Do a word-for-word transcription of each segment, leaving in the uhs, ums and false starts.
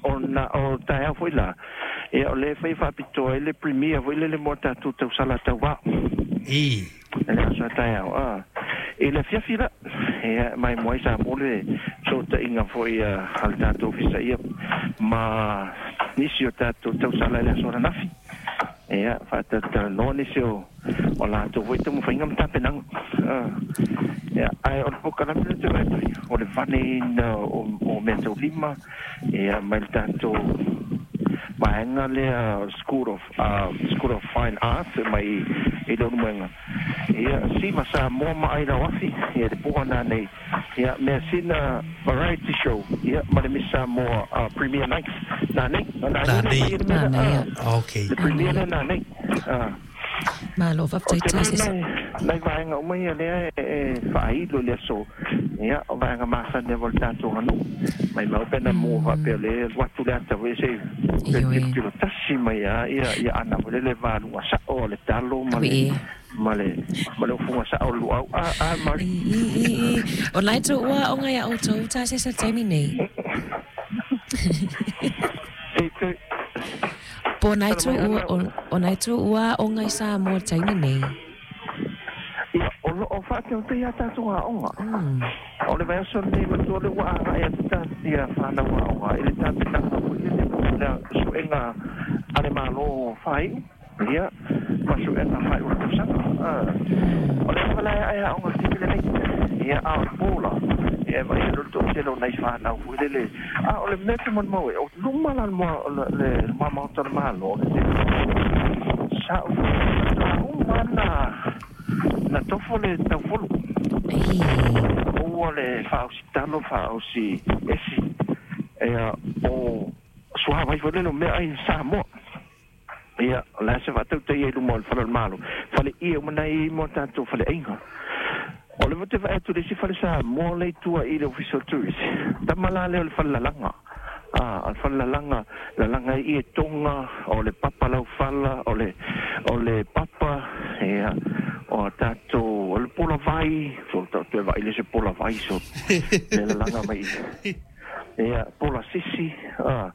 Ona o taeao foi la, ia o lea e fai faapitoa ai le premier foi lele mo tatou tausala tauvao. I. Le aso a taeao. Ah. I le afiafi la, ia mai moai sa mo le fesootaiga foi a le tatou ofisa ia ma nisi o tatou tausala i le aso ananafi. Ia faatalatalanoa nisi o o latou foi taumafaiga ma tapenaga. Ah. Ia ae o le polokalame lea ou te vaai atu ai, o le vaneina o, o meataulima ia mai le tatou vaega lea School of uh, School of Fine Arts mai i Leulumoega. Ia Siva Samoa ma ai Lauafi ia le poa nanei ia mea sina variety show ia ma le Miss Samoa uh, Premier Night nanei nanei nei Nanei, ia. Okay. Le premier lea nanei. Ah. Malo O faafetai te Tasesa. nai nai vaega uma ia lea e, e faailo i le aso ia o vaega masani ava o le tatou aganuu mai mau pe na mua faapea o lea alu atu le ata foi se Ioe. tilotilo tasi mai a ia ia ana foi lele valuga sa'o o le talo ma le Ui. ma le ma le ofuga sa'o o le luau a a mari. I, i, i, i. O nai tō ua o ngai a outou Tasesa taimi nei. E te Po nai tala tō mai ua ana o, o nai tō ua o ngai Samoa taimi nei. Ia o loo faateotea ia tatou aoga. Mm. O le vaiaso lenei matua le ua agaʻi atu tatia fanau aoga i le tapenaga foi lele mo le suʻega a le Mālō faaiʻu ia ma suʻega faaiʻu le tausaga. O le ava lae ae aoga le taimi lenei ia a o le pola ia e vaai le toʻatele o nai fanau foi lele a o le mea te molimau e o luma la le moa le le maota o le Mālō le tele sa'u uma na na tofo le taufolu Ei. ua le faaosi talo faaosi esi ia o suavai foi lele o mea ai Samoa ia o le ase faatautaia i luma o le fale o le Malo fale ia uma nai mo tatou faleaiga o le vote vaai atu le isi fale Samoa le i tua i le ofisa o le tourist tama la lea o le fale lalaga. Ah, o le fale lalaga lalaga ai ie toga o le papa laufala o le o le papa ia o tatou o le pola vai so toe vaai le se pola vai so le lalaga mai ia pola sisi ah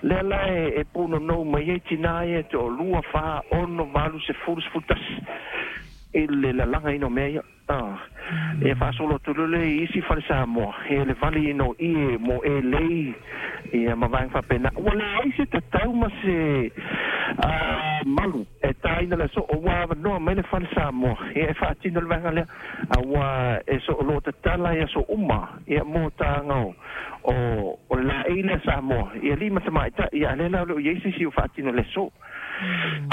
lea la e, e punonou mai ai tinā ia te o lua fa ono valu sefulu sefulu tasi i le lalaga ina o mea ia ah e faasolo atu lele i isi fale Samoa e le vali ina o ie mo e lei ia ma vaega faapena ua leai se tatau ma se ah, malu e tāina le aso o ua avanoa mai le fale Samoa ia e faatino le vaega lea a ua e sooloa tatala ia aso uma ia mo taga o o o le laei lea Samoa ia lima tamaitaʻi ia a lea la o loo iai se isi o faatino le aso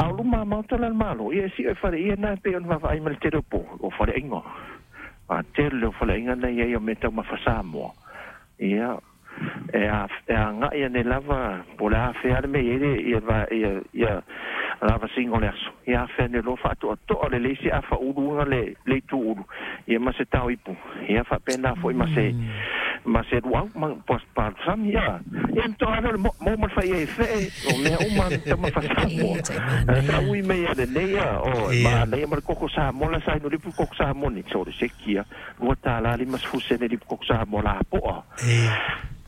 a o luma maota la le Malo ia e siʻo e fale ia na e pei ona vaavaai ma le tele o po o faleaiga a tele o faleaiga na iai o mea taumafa Samoa ia e a e agaʻi ane lava po o le afea le mea iai le ia va ia ia lavasiga o le aso ia afea ane loa faatoatoa le leisi afauluga le le ituulu ia ma se tao ipu ia faapena foi ma se ma se luau ma palusami ia ia toa le mo mo ma le fai e feʻe o mea uma taumafa E Samoa tai manaia. saʻui mai ia lenei ia o Ia. manaia ma le koko Samoa la sa inu lipu koko Samoa ni so le sekia lua tālā lima sefulu sene lipu koko Samoa lapoa E.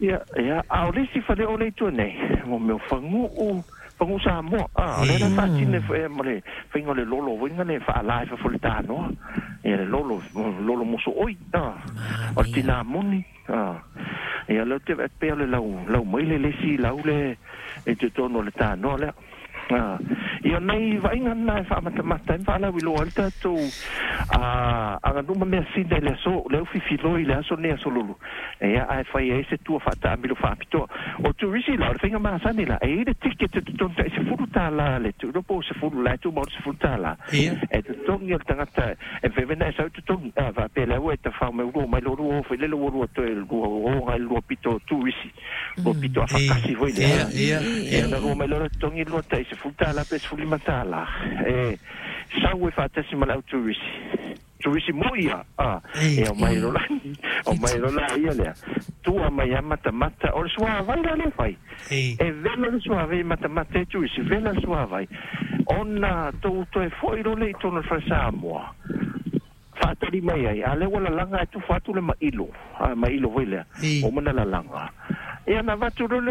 ia ia a o le isi fale o le itu nei mo mea o faguu faguu Samoa a o lea la faatino e ma le faiga o le lolo foi le faalā e fafo le tanoa ia le lolo lolo mosoʻoi a o le Manaia. tinā moni a ia lea ou te vaai pea o le lau lau mai le lesi lau le e totonu o le tanoa lea. Ah, ia nei vaaiga na e faamatamata ai ma faalauiloa ai le tatou a aganuu ma mea sina i le aso le aufifiloi i le aso nei aso lulu ia ae fai ai se tua faataamilo faapitoa o turisi la o le faiga masani la e i le ticket e totonu taʻi sefulu tālā le tuulo po o sefulu la e tumau le sefulu tālā Ia. e totogi o le tagata e vevena e sau totogi a faapea le aua e tafao mai ulua mai lolua o foi lele ua lua toe lua oga i le lua pito o turisi lua pito E. afakasi foi Ia, lea ia, ia ia. na lua mai loa totogi lua taʻi sefulu tālā pe sefulu lima tālā e sau e faatasi ma le au turisi turisi mo ia a E. e o mai lola o mai lola ia lea tua mai a matamata o le suavai la le fai E. e vela le suavai matamata e turisi vela le suavai ona tou toe foʻi lole i tonu o le fale Samoa faatali mai ai a lea ua lalaga e tufa atu le maʻilo a maʻilo foi lea E. o mana lalaga ia na vatu lole